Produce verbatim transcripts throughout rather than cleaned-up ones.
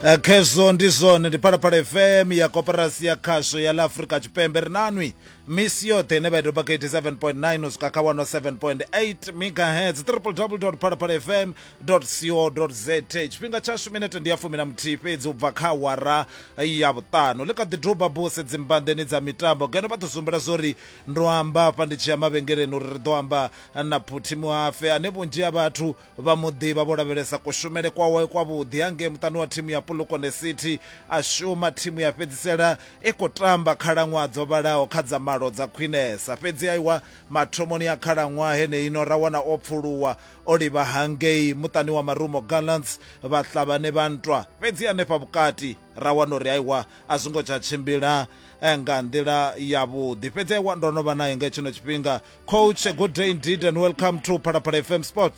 Khezwo ndi zwone, ndi Phalaphala F M ya Koporasi ya Khasho ya ḽa Afrika Tshipembe. Ri nanwi misi yoṱhe ine vha i doba kha eighty-seven point nine u swika kha one oh seven point eight megahertz, w w w dot phalaphala f m dot co dot z a. Tshifhinga tshashu minete ndi ya fumi na muthihi fhedzi u bva kha awara ya vhuṱanu. Ḽi kha ḓi duba buse dzimbanḓeni dza mitambo ngeno vha ḓo sumbela zwori ndo amba hafha ndi tshi ya mavhengeleni uri ri ḓo amba na Phuthi Muafe ane vhunzhi ha vhathu vha muḓivha vho lavhelesa kushumele kwawe kwavhuḓi hangei muṱani wa thimu ya Polokwane City. A shuma thimu ya fhedzisela i khou tamba khalaṅwaha dzo vhalaho kha dza malo dza khwinesa, fhedzi aiwa mathomoni a khalaṅwaha heneino ra wana o pfuluwa o livha hangei muṱani wa Marumo Gallants vhaṱavhane vha ntwa, fhedzi hanefha vhukati ra wana uri aiwa a zwi ngo tsha tshimbila nga nḓila yavhuḓi. Fhedzi aiwa ndo no vha naye nga tshino tshifhinga. Coach, good day indeed and welcome to Phalaphala F M Sport.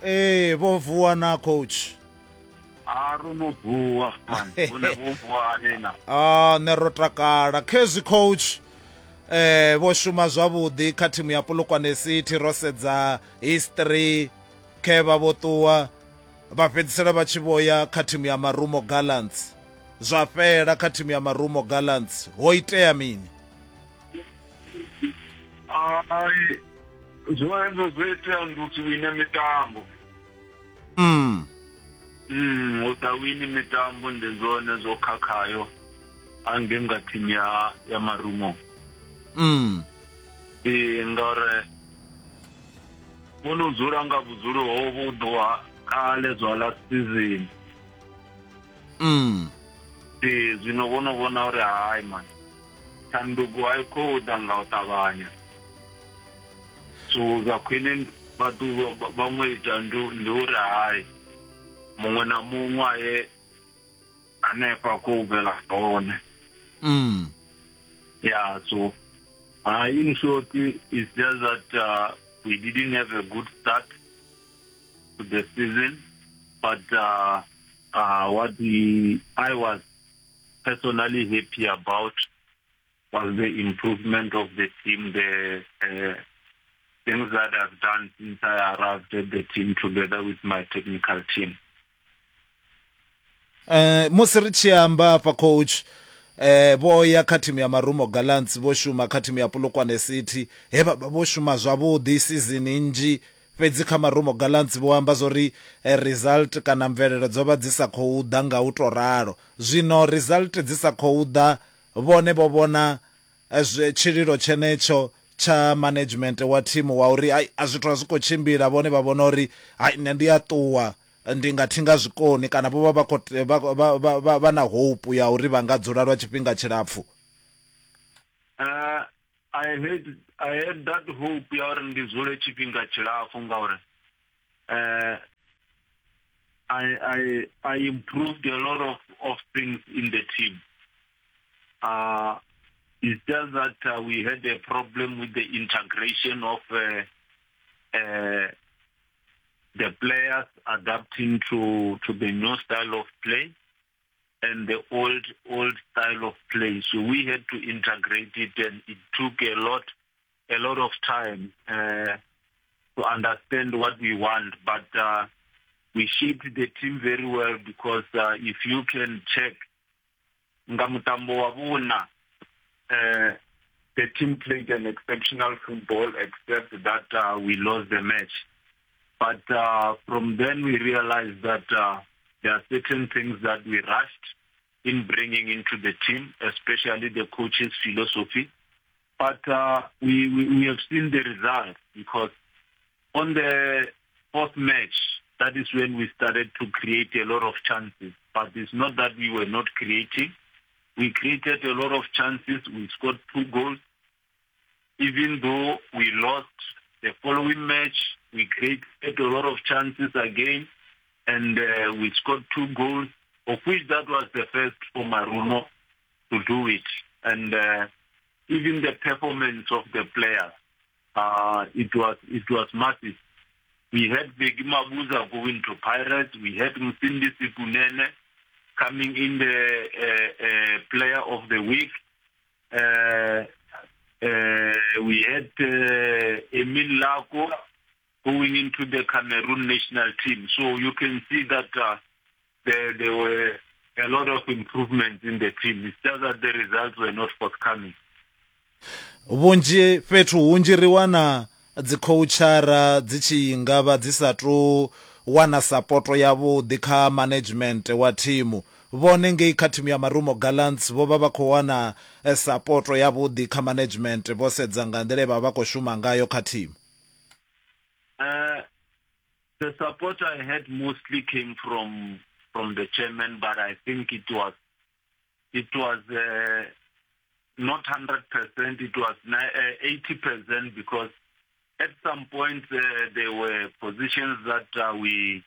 Ee, vho vuwa na coach? A ro no vuwa man, vhone vho vuwa nina. Ah, ne ro takala. Khezwi coach, eh vho shuma zwavhuḓi kha thimu ya Polokwane City, ro sedza history khe vha vho ṱuwa vha fhedzisela vha tshi vhoya kha thimu ya Marumo Gallants, zwa fhela kha thimu ya Marumo Gallants. Ho itea mini? Ai, zwo hezwo zwo itea ndi u si wine mitambo. Mm. Mm, u sa wini mitambo ndi zwone zwo khakhayo ange nga thimu ya ya Marumo. Mm. Ee, ngauri vho no dzula nga vhudzulo ho vho ḓwa kale zwa last season. Mm. Ee, zwino vho no vhona uri hai man, tshanduko a i khou ḓa nga u ṱavhanya. So zwa khwine vhathu vhaṅwe ita ndi uri hai muṅwe na muṅwe aye hanefha khou bvela hone. Mm. Yeah, so uh, in short, it's just that uh, we didn't have a good start to the season, but uh, uh, what we, I was personally happy about was the improvement of the team, the uh, things that I've done since I arrived at the team together with my technical team. Eh, musi ri tshi amba hafha coach, eh vho ya kha thimu ya Marumo Gallants, vho shuma kha thimu ya Polokwane City, he vha vho shuma zwavhuḓi season nnzhi, fhedzi kha Marumo Gallants vho amba zwori result kana mvelelo dzo vha dzi sa khou ḓa nga u to ralo. Zwino result dzi sa khou ḓa, vhone vho vhona tshililo tshenetsho tsha management wa thimu wa uri ai a zwithu a zwi khou tshimbila, vhone vha vhona uri hai nṋe ndi a ṱuwa ndi nga thinga zwikoni, kana vho vha vha khou vha vha vha na hope ya uri vha nga dzula lwa tshifhinga tshilapfu. Uh, I had I had that hope ya uri ndi dzule tshifhinga tshilapfu ngauri uh, I I I improved a lot of of things in the team. Uh, it's just that uh, we had a problem with the integration of uh, uh, the players adapting to, to the new style of play and the old old style of play. So we had to integrate it, and it took a lot a lot of time uh, to understand what we want. But uh, we shaped the team very well because uh, if you can check nga mutambo wa vhuna, uh, the team played an exceptional football, except that uh, we lost the match. But uh, from then we realized that uh, there are certain things that we rushed in bringing into the team, especially the coach's philosophy. But uh, we, we, we have seen the result, because on the fourth match, that is when we started to create a lot of chances. But it's not that we were not creating. We created a lot of chances. We scored two goals. Even though we lost the following match, we created a lot of chances again, and uh, we scored two goals, of which that was the first for Marumo to do it. And uh, even the performance of the players, uh, it was it was massive. We had Begi Mabuza going to Pirates. We had Msindisi Kunene coming in the uh, uh, player of the week. Uh, uh, we had uh, Emil Lako going into the Cameroon national team. So you can see that uh, there, there were a lot of improvements in the team. It's just that the results were not forthcoming. Vhunzhi fhethu hunzhi ri wana dzi coachara dzi tshi nga vha dzi sa tu wana support yavhuḓi kha management wa thimu. Vhone ngei kha thimu ya Marumo Gallants vho vha vha khou wana support yavhuḓi kha management vho sedza nga nḓila vha vha khou shuma ngayo kha thimu. Uh, the support I had mostly came from from the chairman, but I think it was it was uh, not hundred percent. It was eighty percent, because at some point uh, there were positions that uh, we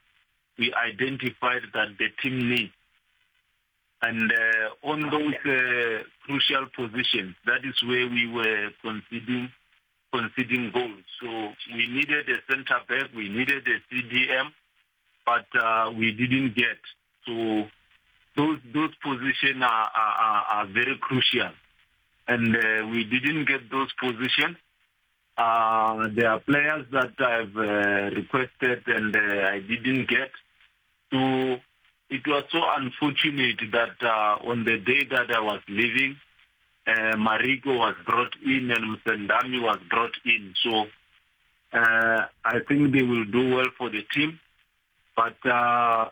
we identified that the team needs, and uh, on those uh, crucial positions, that is where we were conceding conceding goals. So we needed a center back, we needed a C D M, but uh, we didn't get. So those those positions are, are, are very crucial, and uh, we didn't get those positions. Uh, there are players that I've uh, requested and uh, I didn't get. So it was so unfortunate that uh, on the day that I was leaving, uh, Mariko was brought in and Msendami was brought in. So uh, I think they will do well for the team. But uh,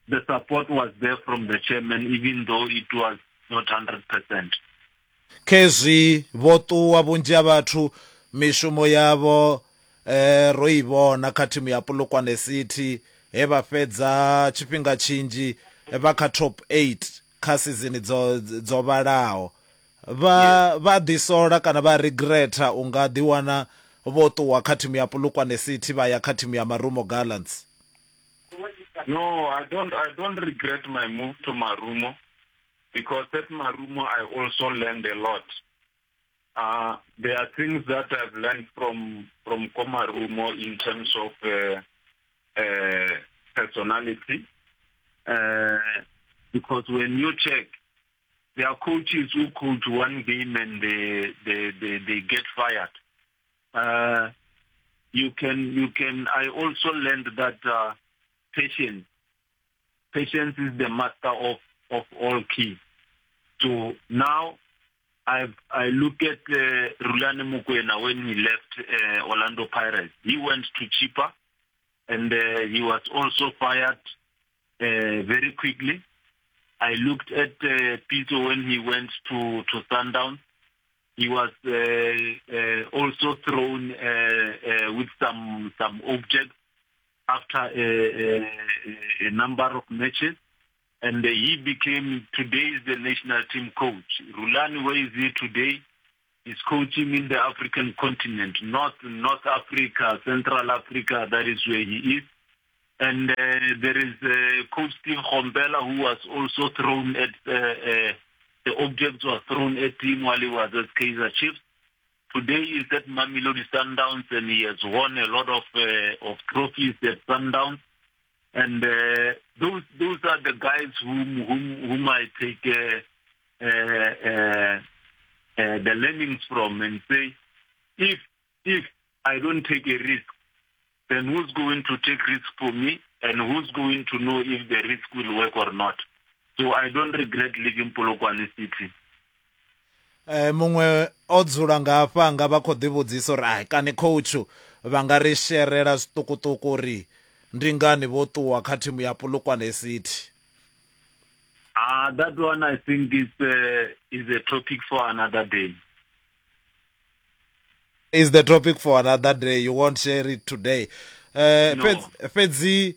the support was there from the chairman, even though it was not one hundred percent. Khezwi vho ṱuwa vhunzhi ha vhathu mishumo yavho eh ro i vhona kha thimu ya Polokwane City he vha fhedza tshifhinga tshinzhi vha kha top eight kha season dzo dzo vhalaho. Vha vha ḓisola kana vha regreta unga ḓiwana vho ṱuwa kha thimu ya Polokwane City vha ya kha thimu ya Marumo Gallants? No, I don't I don't regret my move to Marumo, because at Marumo I also learned a lot. Uh, there are things that I've learned from from Komarumo in terms of uh, uh, personality. Uh, because when you check, there are coaches who coach one game and they they, they, they get fired. Uh, you can you can. I also learned that uh, patience, patience is the master of, of all keys. So now, I I look at uh, Rulani Mokwena when he left uh, Orlando Pirates. He went to Chippa, and uh, he was also fired uh, very quickly. I looked at uh, Pito when he went to, to Sundowns. He was uh, uh, also thrown uh, uh, with some, some objects after a, a, a number of matches. And he became, today is the national team coach. Rulani, where is he today? He's coaching in the African continent, North, North Africa, Central Africa, that is where he is. And uh, there is uh, Coach Steve Khombela, who was also thrown at, uh, uh, the objects were thrown at him while he was at Kaizer Chiefs. Today he's at Mamelodi Sundowns, and he has won a lot of, uh, of trophies at Sundowns. And uh, those those are the guys whom whom, whom I take uh, uh, uh, uh, the learnings from and say, if if I don't take a risk, then who's going to take risk for me, and who's going to know if the risk will work or not? So I don't regret leaving Polokwane City. Eh, muṅwe o dzula nga hafha nga vha khou ḓivhudzisa uri ai kani coach vha nga ri sherela zwiṱukuṱuku uri ndi ngani vho ṱuwa kha thimu ya Polokwane City? Ah, uh, that one I think is uh, is a topic for another day. Is the topic for another day. You won't share it today. Uh, No. Fhedzi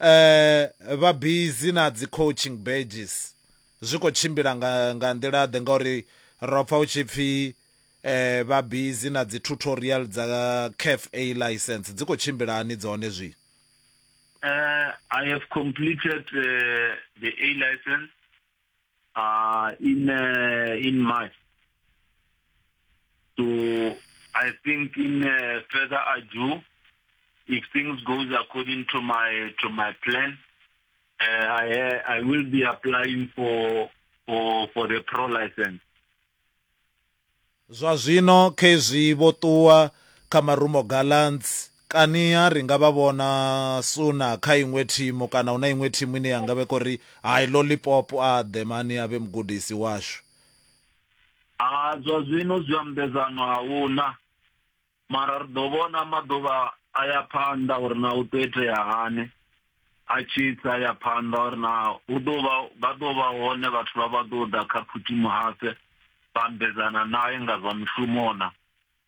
eh vha busy na dzi coaching badges. Zwi khou tshimbila nga nga nḓila ḓe ngauri ro pfa u tshi pfi eh vha busy na dzi tutorial dza C A F A license. Dzi khou tshimbila hani dzone zwi? Uh, I have completed uh, the A license uh, in uh, in March. So I think in uh, further ado, if things goes according to my to my plan, uh, I I will be applying for for for the pro license. Zwa zwino khezwi vho ṱuwa kha Marumo Gallants Kani-ha ri nga vha vhona suna kha iṅwe thimu kana hu na iṅwe thimu ine ya nga vhe khou ri hai Lollipop a ḓe mani a vhe mugudisi washu? Ha, zwa zwino zwi ambedzano ahuna, mara ri ḓo vhona maḓuvha a ya phanḓa uri na u ḓo itea hani a tshi tsa ya phanḓa, uri na hu ḓo vha vha ḓo vha hone vhathu vha vha ḓo ḓa kha Phuthi Muhafe vha ambedzana naye nga zwa mishumo na.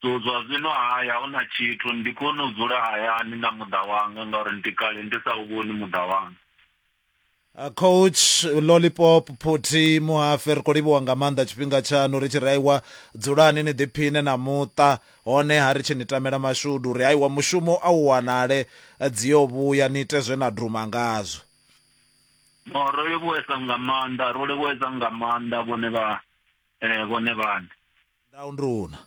So zwa zwino haya huna tshithu, ndi kone u dzula hayani na muḓa wanga ngauri ndi kale ndi sa u vhoni muḓa wanga. Coach Lollipop Phuthi Muhafe, ri khou livhuwa nga maanḓa tshifhinga tshaṋu. Ri tshi ri aiwa, dzulani ni ḓiphine na muṱa, hone ha ri tshi ni tamela mashudu uri aiwa mushumo a u wanale, dzi yo vhuya ni ite zwe na duma ngazwo. No, ro livhuwesa nga maanḓa, ro livhuwesa nga maanḓa vhone vha eh vhone vhane. Ndau nduna.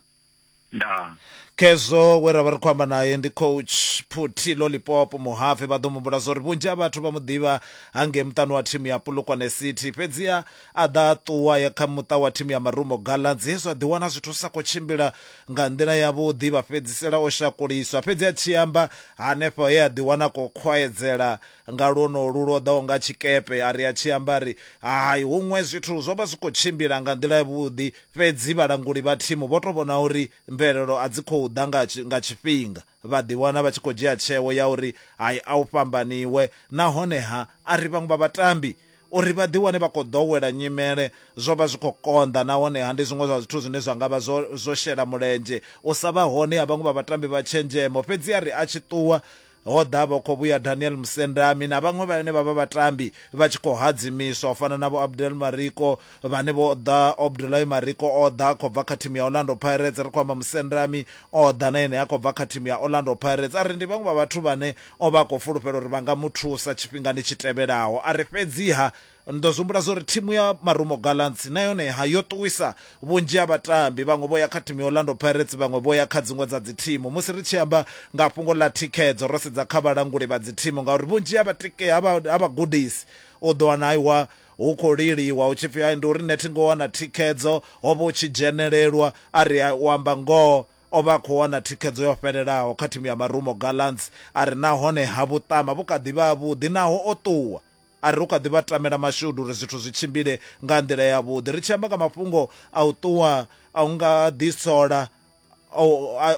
Ndaa. Khezwo we ra vha ri khou amba naye ndi Coach Phuthi Lollipop Muhafe. Vha ḓo muhumbula zwa uri vhunzhi ha vhathu vha mu ḓivha hangei muṱani wa thimu ya Polokwane City, fhedziha a ḓa a ṱuwa ya kha muṱa wa thimu ya Marumo Gallants, hezwo a ḓiwana zwithu zwi sa khou tshimbila nga nḓila yavhuḓi, vha fhedzisela o shakuliswa. Fhedzi a tshi amba hanefho he a ḓiwana khou khwaedzela nga lwonolu lwo ḓaho nga tshikepe, a ri a tshi amba ri hai, huṅwe zwithu zwo vha zwi khou tshimbila nga nḓila yavhuḓi, fhedzi vhalanguli vha thimu vho to vhona uri mvelelo a dzi khou ḓa nga tshifhinga, vha ḓiwana vha tshi khou dzhia tsheo ya uri hai, a u fhambaniwe. Nahone ha a ri vhaṅwe vha vhatambi uri vha ḓiwane vha khou ḓowela nyimele zwo vha zwi khou konḓa, nahone ha ndi zwiṅwe zwa zwithu zwine zwa nga vha zwo zwo shela mulenzhe u sa vha hone ha vhaṅwe vha vhatambi vha tshenzhemo. Fhedzi a ri a tshi ṱuwa ho ḓa vha khou vhuya Daniel Musendami na vhaṅwe vhane vha vha vhatambi vha tshi khou hadzimiswa u fana na vho Abdel Mariko vhane vho ḓa. Abdullahi Mariko o ḓa khou bva kha thimu ya Orlando Pirates, ri khou amba Musendami o ḓa na ene a khou bva kha thimu ya Orlando Pirates. A ri ndi vhaṅwe vha vhathu vhane o vha khou fulufhela uri vha nga mu thusa tshifhingani tshi tevhelaho. A ri fhedziha ndo zwi humbula zwa uri thimu ya Marumo Gallants na yone ha yo ṱuwisa vhunzhi ha vhatambi, vhaṅwe vho ya kha thimu ya Orlando Pirates, vhaṅwe vho ya kha dziṅwe dza dzi thimu. Musi ri tshi amba nga fhungo ḽa thikhedzo, ro sedza kha vhalanguli vha dzi thimu, ngauri vhunzhi ha vhatike ha vhagudisi u ḓo wana aiwa hu khou liliwa hu tshi pfhi ai ndi uri nṋe thi ngo wana thikhedzo, ho vha hu tshi dzhenelelwa. A ri u amba ngoho o vha khou wana thikhedzo yo fhelelaho kha thimu ya Marumo Gallants. A ri nahone ha vhuṱama vhu kha ḓivha vhuḓi naho o ṱuwa, a ri u kha ḓi vha tamela mashudu uri zwithu zwi tshimbile nga nḓila yavhuḓi. Ri tshi amba nga mafhungo a u ṱuwa a u nga ḓisola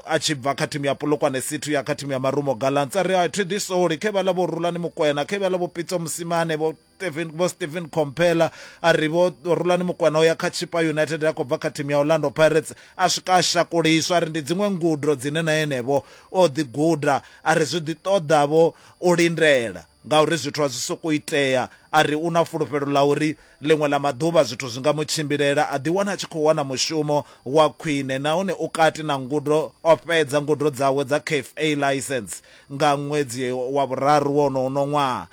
a tshi bva kha thimu ya Polokwane City ya kha thimu ya Marumo Gallants, a ri a thi ḓisoli khe vhaḽa vho Rulani Mokwena, khe vhaḽa vho Pitso Mosimane, vho Stephen vho Stephen Komphela. A ri vho Rulani Mokwena o ya kha Chippa United a khou bva kha thimu ya Orlando Pirates, a swika a shakuliswa. A ri ndi dziṅwe ngudo dzine na enevho o ḓi guda, a ri zwi ḓi ṱoḓa vho u lindela ngauri zwithu a zwi sokou itea. A ri u na fulufhelo ḽa uri ḽiṅwe ḽa maḓuvha zwithu zwi nga mu tshimbilela, a ḓiwana a tshi khou wana mushumo wa khwine, nahone u kati na ngudo, o fhedza ngudo dzawe dza C A F A license nga ṅwedzi wa vhuraru wono uno ṅwaha.